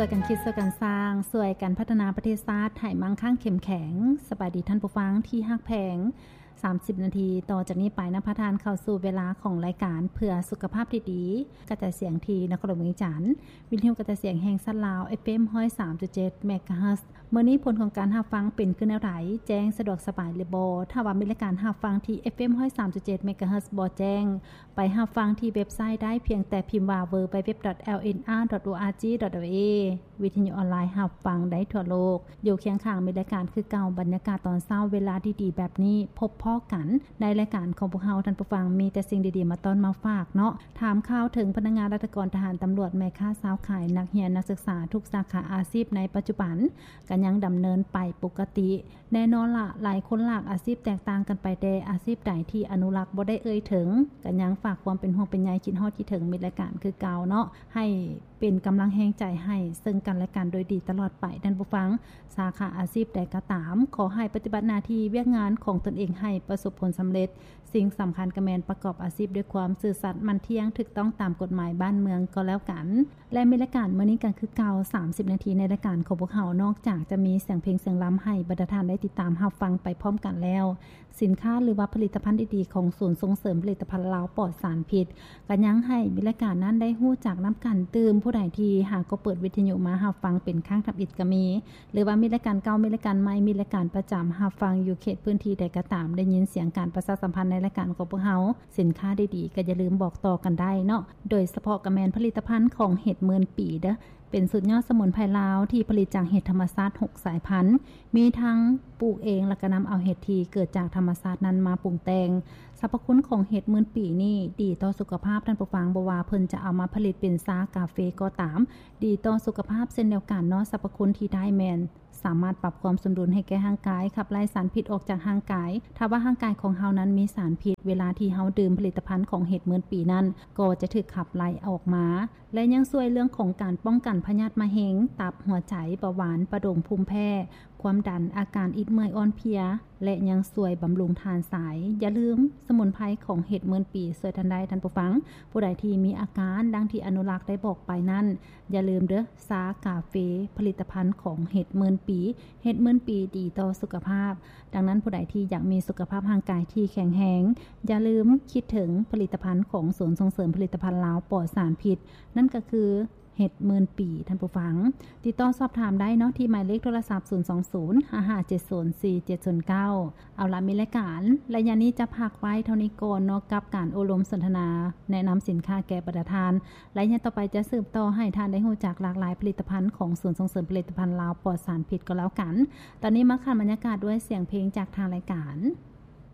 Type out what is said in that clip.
ຊ່ວຍກັນຄິດ ຊ່ວຍກັນສ້າງ ຊ່ວຍກັນພັດທະນາປະເທດຊາດໃຫ້ໝັ້ງຄັ່ງເຂັ້ມແຂງ. ສະບາຍດີທ່ານຜູ້ຟັງທີ່ຮັກແພງ. ສາມສິບນາທີຕໍ່ຈາກນີ້ໄປ ນຳພາທ່ານເຂົ້າສູ່ເວລາຂອງລາຍການເພື່ອສຸຂະພາບທີ່ດີ ກະຈາຍສຽງທີ່ນະຄອນຫຼວງວຽງຈັນ, ວິທະຍຸກະຈາຍສຽງແຫ່ງຊາດລາວ ເອັຟເອັມ ຮ້ອຍສາມຈຸດເຈັດ ເມກາເຮີດ. ມື້ນີ້ຜົນຂອງການຮັບຟັງເປັນຄືແນວໃດ? ແຈ້ງສະດວກສະບາຍຫຼືບໍ່? ຖ້າວ່າມີລາຍການຮັບຟັງທີ່ ເອັຟເອັມ ຮ້ອຍສາມຈຸດເຈັດ ເມກາເຮີດ ບໍ່ແຈ້ງ, ໄປຮັບຟັງທີ່ເວັບໄຊໄດ້ ພຽງແຕ່ພິມວ່າ ดัບເບິນຢູດັບເບິນຢູດັບເບິນຢູ ດອດ ເອລເອັນອາ ດອດ ໂອອາຈີ ດອດ ເອລເອ. ວິທະຍຸອອນລາຍຮັບຟັງໄດ້ທົ່ວໂລກ, ຢູ່ຄຽງຂ້າງມີລາຍການຄືເກົ່າ. ບັນຍາກາດຕອນເຊົ້າເວລາດີໆແບບນີ້ ພົບພໍ້ກັນໃນລາຍການຂອງພວກເຮົາ. ທ່ານຜູ້ຟັງ, ມີແຕ່ສິ່ງດີໆມາຕ້ອນມາຝາກເນາະ. ຖາມຂ່າວເຖິງພະນັກງານ, ລັດຖະກອນ, ທະຫານ, ຕຳຫຼວດ, ແມ່ຄ້າ, ຊາວຂາຍ, ນັກຮຽນ, ນັກສຶກສາ, ທຸກສາຂາອາຊີບໃນປັດຈຸບັນ ກໍຍັງດຳເນີນໄປປົກກະຕິ. ແນ່ນອນລະ, ຫຼາຍຄົນຫຼາກອາຊີບແຕກຕ່າງກັນໄປ, ແຕ່ອາຊີບໃດທີ່ອະນຸລັກບໍ່ໄດ້ເອີ່ຍເຖິງ ກໍຍັງຝາກຄວາມເປັນຫ່ວງເປັນໃຍ, ຄິດຮອດຄິດເຖິງມິດລາຍການຄືເກົ່າເນາະ, ໃຫ້ເປັນກຳລັງແຮງໃຈໃຫ້ເຊິ່ງກັນແລະກັນໂດຍດີຕະຫຼອດໄປ. ທ່ານຜູ້ຟັງ, ສາຂາອາຊີບໃດກໍຕາມ, ຂໍໃຫ້ປະຕິບັດໜ້າທີ່ວຽກງານຂອງຕົນເອງໃຫ້ປະສົບຜົນສຳເລັດ. ສິ່ງສຳຄັນກໍແມ່ນປະກອບອາຊີບດ້ວຍຄວາມຊື່ສັດ, ໝັ້ນທ່ຽງ, ຖືກຕ້ອງຕາມກົດໝາຍບ້ານເມືອງກໍແລ້ວກັນ. ແລະ ມີລາຍການມື້ນີ້ກໍຄືເກົ່າ ສາມສິບນາທີໃນລາຍການຂອງພວກເຮົາ, ນອກຈາກຈະມີສຽງເພງສຽງລຳໃຫ້ບັນດາທ່ານໄດ້ຕິດຕາມຮັບຟັງໄປພ້ອມກັນແລ້ວ, ສິນຄ້າ ຫຼືວ່າຜະລິດຕະພັນດີໆຂອງສູນສົ່ງເສີມຜະລິດຕະພັນລາວປອດສານພິດ ກໍຍັງໃຫ້ມີລາຍການນັ້ນໄດ້ຮູ້ຈັກນຳກັນຕື່ມ. ຜູ້ໃດທີ່ຫາກໍເປີດວິທະຍຸມາຮັບຟັງເປັນຄັ້ງທຳອິດກໍມີ, ຫຼືວ່າມີລາຍການເກົ່າ, ມີລາຍການໃໝ່, ມີລາຍການປະຈຳຮັບຟັງຢູ່ເຂດພື້ນທີ່ໃດກໍຕາມ, ໄດ້ຍິນສຽງການປະຊາສຳພັນໃນລາຍການຂອງພວກເຮົາ, ສິນຄ້າດີໆ ກໍຢ່າລືມບອກຕໍ່ກັນໄດ້ເນາະ. ໂດຍສະເພາະກໍແມ່ນຜະລິດຕະພັນຂອງເຫັດໝື່ນປີເດີ້, ເປັນສູດຍອດສະໝຸນໄພລາວທີ່ຜະລິດຈາກເຫັດທຳມະຊາດຫົກສາຍພັນ, ມີທັງປູກເອງ ແລ້ວກໍນຳເອົາເຫັດທີ່ເກີດຈາກທຳມະຊາດນັ້ນມາປຸງແຕ່ງ. ສັບພະຄຸນຂອງເຫັດໝື່ນປີນີ້ດີຕໍ່ສຸຂະພາບ, ທ່ານຜູ້ຟັງ, ບໍ່ວ່າເພິ່ນຈະເອົາມາຜະລິດເປັນຊາກາເຟກໍຕາມ, ດີຕໍ່ສຸຂະພາບເຊັ່ນດຽວກັນເນາະ. ສັບພະຄຸນທີ່ໄດ້ແມ່ນ ສາມາດປັບຄວາມສົມດຸນໃຫ້ແກ່ຮ່າງກາຍ, ຂັບໄລ່ສານພິດອອກຈາກຮ່າງກາຍ. ຖ້າວ່າຮ່າງກາຍຂອງເຮົານັ້ນມີສານພິດ, ເວລາທີ່ເຮົາດື່ມຜະລິດຕະພັນຂອງເຫັດໝື່ນປີນັ້ນ ກໍຈະຖືກຂັບໄລ່ອອກມາ. ແລະ ຍັງຊ່ວຍເລື່ອງຂອງການປ້ອງກັນພະຍາດມະເຮັງ, ຕັບ, ຫົວໃຈ, ເບົາຫວານ, ປະດົງ, ພູມແພ້, ຄວາມດັນ, ອາການອິດເມື່ອຍອ່ອນເພຍ ແລະ ຍັງຊ່ວຍບຳລຸງທານຊາຍ. ຢ່າລືມ, ສະໝຸນໄພຂອງເຫັດໝື່ນປີຊ່ວຍທ່ານໄດ້, ທ່ານຜູ້ຟັງ. ຜູ້ໃດທີ່ມີອາການດັ່ງທີ່ອະນຸລັກໄດ້ບອກໄປນັ້ນ, ຢ່າລືມເດີ້, ຊາກາເຟ, ຜະລິດຕະພັນຂອງເຫັດໝື່ນປີ. ເຫັດໝື່ນປີດີຕໍ່ສຸຂະພາບ. ດັ່ງນັ້ນ, ຜູ້ໃດທີ່ຢາກມີສຸຂະພາບຮ່າງກາຍທີ່ແຂງແຮງ, ຢ່າລືມຄິດເຖິງຜະລິດຕະພັນຂອງສູນສົ່ງເສີມຜະລິດຕະພັນລາວປອດສານພິດ, ນັ້ນກໍຄືເຫັດໝື່ນປີ, ທ່ານຜູ້ຟັງ. ຕິດຕໍ່ສອບຖາມໄດ້ເນາະ ທີ່ໝາຍເລກໂທລະສັບ ສູນສອງສູນ ຫ້າຫ້າເຈັດສູນ ສີ່ເຈັດສູນເກົ້າ. ເອົາລະ, ມີລາຍການໄລຍະນີ້ຈະພັກໄວ້ເທົ່ານີ້ກ່ອນເນາະ ກັບການໂອ້ລົມສົນທະນາແນະນຳສິນຄ້າແກ່ບັນດາທ່ານ. ໄລຍະຕໍ່ໄປຈະສືບຕໍ່ໃຫ້ທ່ານໄດ້ຮູ້ຈັກຫຼາກຫຼາຍຜະລິດຕະພັນຂອງສູນສົ່ງເສີມຜະລິດຕະພັນລາວປອດສານພິດກໍແລ້ວກັນ. ຕອນນີ້ມາຂັນບັນຍາກາດດ້ວຍສຽງເພງຈາກທາງລາຍການ.